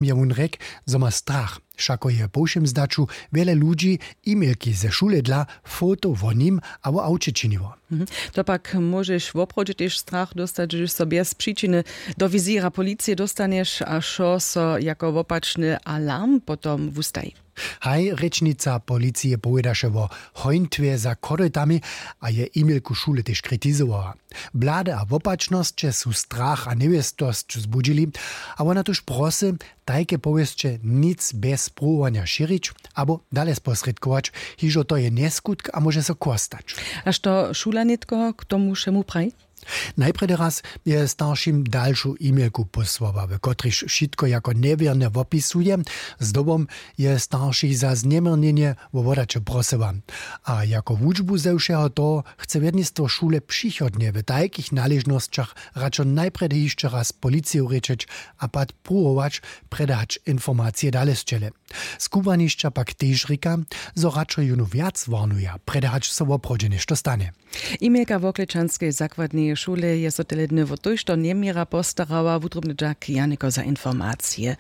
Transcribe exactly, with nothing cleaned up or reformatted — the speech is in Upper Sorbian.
Je wón rjek, zo ma strach, wšako je po wšěm zdaću wjele ludźi e-mailki ze šule dla foto wo nim abo awće činiło. To pak móžeš woprawdźe tež strach dóstać, hdyž so bjez přičiny do wizěra policije dóstanješ a wšo so jako wopačny alarm potom wustaji. Haj rěčnica policije powědaše wo hońtwje za chorytami, a je e-mailku šule tež kritizowała. Blady a wopačnosće su strach a njewěstosć zbudźili, a wona tuž prosy, tajke powěsće nic bjez pruwowanja šěrić abo dale sposrědkować, hižo to je njeskutk a móže so kostać. A što šula nětko k tomu wšemu praji? Najprjedy raz je staršim dalšu e-mailku pósłała, w kotrejž wšitko jako njewěrne wopisuje. Zdobom je staršich za zněměrnjenje wo wodaće prosyła. A jako wučbu ze wšeho toho chce wjednistwo šule přichodnje w tajkich naležnosćach radšo najprjedy hišće raz policiju rěčeć a pak pruwować, prjedy hač informacije dale sćele. Skubłanišća pak tež rěka, zo radšo jónu wjac warnuja, prjedy hač so woprawdźe něšto stanje. E-mailka woklečanskej zakładneje šule je so tele dny wo tójšto njeměra postarała. Wutrobny dźak, Janiko, za informacije.